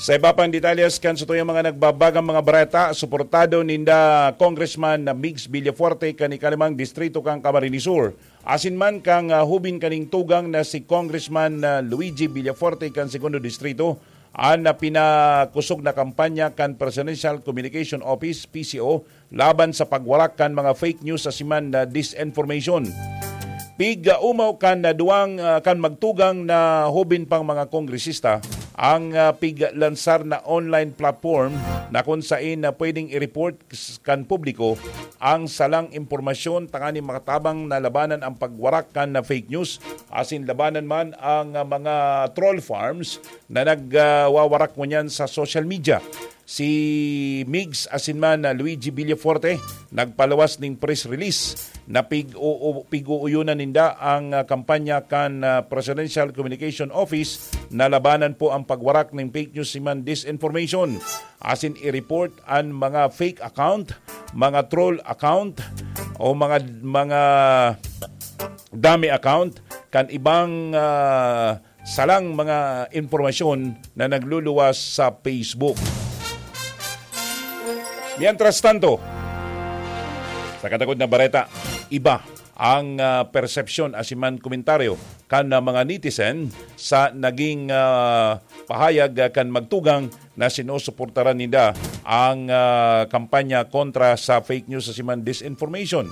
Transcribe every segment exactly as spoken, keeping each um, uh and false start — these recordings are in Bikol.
Sa iba pang detalles kan satuyang mga nagbabagang mga bareta, suportado ninda Congressman na Migs Villafuerte kan ikalimang distrito kan Camarines Sur, asin man kan, ah, hubin kaning tugang na si Congressman, ah, Luigi Villafuerte kan segundo distrito, an, ah, pinakosog na kampanya kan Presidential Communication Office, P C O, laban sa pagwarak kan mga fake news asin man na disinformation. Pig-umaw kan, ah, duwang, ah, kan magtugang na hubin pang mga kongresista ang, ah, piglansar na online platform na kun sain na pwedeng i-report s-, kan publiko ang salang impormasyon tanganing makatabang na labanan ang pagwarak kan na fake news asin labanan man ang, ah, mga troll farms na nag, ah, wawarak ngunyan sa social media. Si Migs asin man, ah, Luigi Villafuerte nagpaluwas ning press release na pig-u-, pig-uuyonan ninda ang, ah, kampanya kan, ah, Presidential Communication Office na labanan po ang pagwarak ning fake news asin man disinformation. Asin i-report an mga fake account, mga troll account, o mga, mga dummy account kan ibang, ah, salang mga impormasyon na nagluluwas sa Facebook. Mientras tanto, sa katakod na bareta, iba ang, ah, persepsyon asin man komentaryo kan, ah, mga netizen sa naging, ah, pahayag, ah, kan magtugang na sinusuportaran ninda ang, ah, kampanya kontra sa fake news asin man disinformation.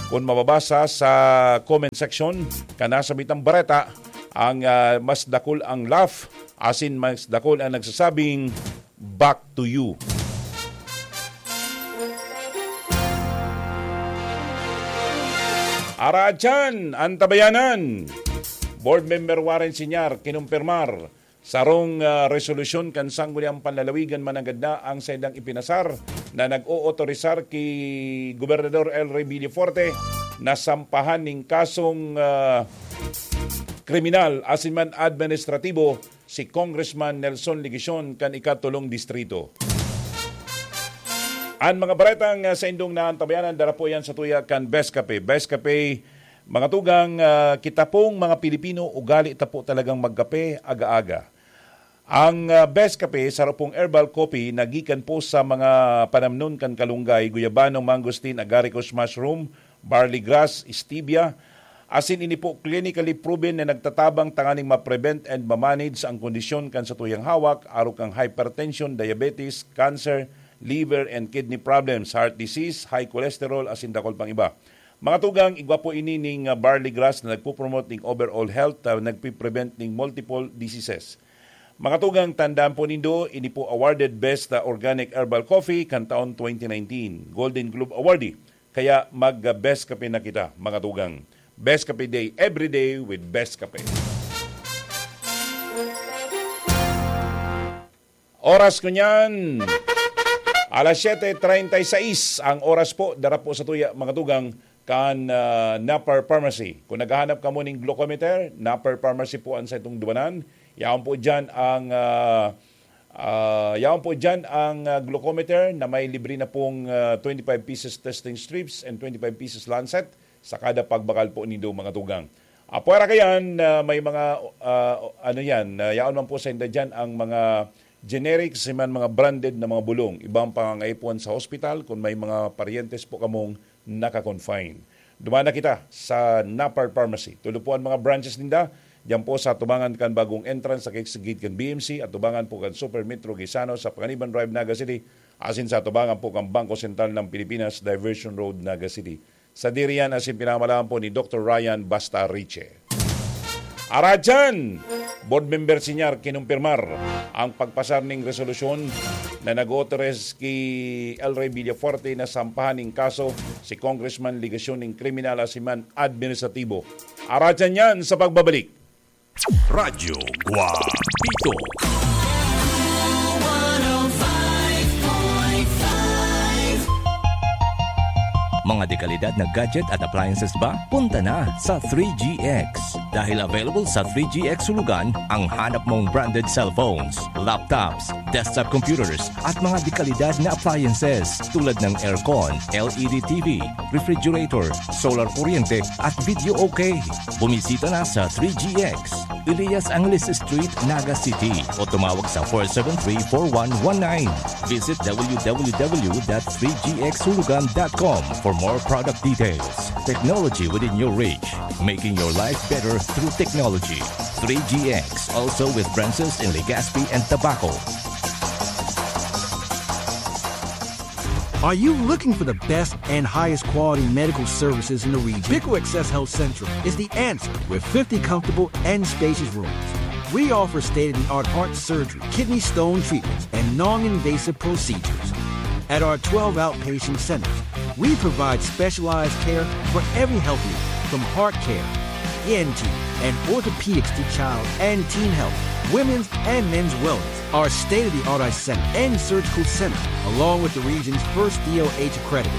Kun mababasa sa comment section kan nasa mitang bareta, ang, ah, mas dakul ang laugh, asin mas dakul ang nagsasabing, "Back to you." Aratyan, Antabayanan. Board Member Warren Sinyar kinumpirmar sarong, ah, resolusyon kan Sangguniang Panlalawigan mananggad na ang saindang ipinasar na nag-ootorisar ki Gobernador El Rey Villafuerte na sampahan nin kasong, ah, kriminal asin man administratibo si Congressman Nelson Legacion kan ikatulong distrito. An mga baretang, ah, saindong naantabayanan, dara po yan sa tuya kan Best Cafe. Best Cafe, mga tugang, ah, kita pong mga Pilipino, ugali ta po talagang magkape aga-aga. Ang, ah, Best Cafe, saro pong herbal coffee na gikan po sa mga panamnon kan kalunggay, guyabano, mangosteen, agaricus mushroom, barley grass, stevia, asin ini po clinically proven na nagtatabang tanganing ma-prevent and ma-manage ang kondisyon kan satuyang hawak, arog kan hypertension, diabetes, cancer, liver and kidney problems, heart disease, high cholesterol, asin dakul pang iba. Mga tugang, igwa po ini ning, ah, barley grass na nagpo-promote ning overall health, ah, nagpi-prevent ning multiple diseases. Mga tugang, tandaan po nindo, ini po awarded Best, ah, Organic Herbal Coffee kan taon twenty nineteen, Golden Globe Awardee. Kaya mag-, ah, Best Kape na kita, mga tugang. Best Kape Day, every day with Best Kape. Oras ko niyan, alas siyete treinta y seis ang oras po. Dara po sa tuya, mga tugang, kan, ah, Napar Pharmacy. Kung naghahanap kamo ning glucometer, Napar Pharmacy po ang sa itong duwanan. Yaon po dyan ang, ah, ah, yaon po dyan ang, ah, glucometer na may libre na pong, ah, twenty-five pieces testing strips and twenty-five pieces lancet sa kada pagbakal po nindo, mga tugang. Apwera kayan, ah, may mga, ah, ano yan, ah, yaon man po sa inda dyan ang mga generic, si man mga branded na mga bulong. Ibang pangangaipuhan sa hospital, kung may mga paryentes po kamong naka-confine. Duman na kita sa Napar Pharmacy. Tulo po ang mga branches ninda. Diyan po sa tubangan kan bagong entrance sa gate kan B M C at tubangan po kan Super Metro Gaisano sa Panganiban Drive, Naga City, asin sa tubangan po kan Bangko Sentral ng Pilipinas, Diversion Road, Naga City. Sa diriyan asin pinamalahan po ni Doktor Ryan Basta Riche. Aradyan! Board Member Sinyar kinumpirmar ang pagpasar ning resolusyon na nag-authorize ki El Rey Villafuerte na sampahan ning kaso si Congressman Legacion ning kriminal asin man administratibo. Aradyan yan sa pagbabalik. Radyo Guapito. Mga dekalidad na gadget at appliances ba? Punta na sa three G X. Dahil available sa three G X Hulugan ang hanap mong branded cellphones, laptops, desktop computers, at mga dekalidad na appliances tulad ng aircon, L E D T V, refrigerator, solar kuryente, at video okay. Bumisita na sa three G X, Elias Angeles Street, Naga City, o tumawag sa four seven three, four one one nine. Visit w w w dot three g x hulugan dot com for more product details. Technology within your reach, making your life better through technology. Three G X, also with branches in Legazpi and Tabaco. Are you looking for the best and highest quality medical services in the region? Pico Access Health Central is the answer with fifty comfortable and spacious rooms. We offer state-of-the-art heart surgery, kidney stone treatments, and non-invasive procedures. At our twelve outpatient centers, we provide specialized care for every health need, from heart care, E N T, and orthopedics to child and teen health, women's and men's wellness. Our state-of-the-art eye center and surgical center, along with the region's first D O H accredited,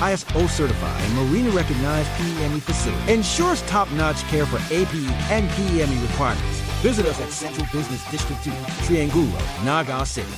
I S O certified, and Marina recognized P E M E facility, ensures top-notch care for A P E and P E M E requirements. Visit us at Central Business District two, Triangulo, Naga City.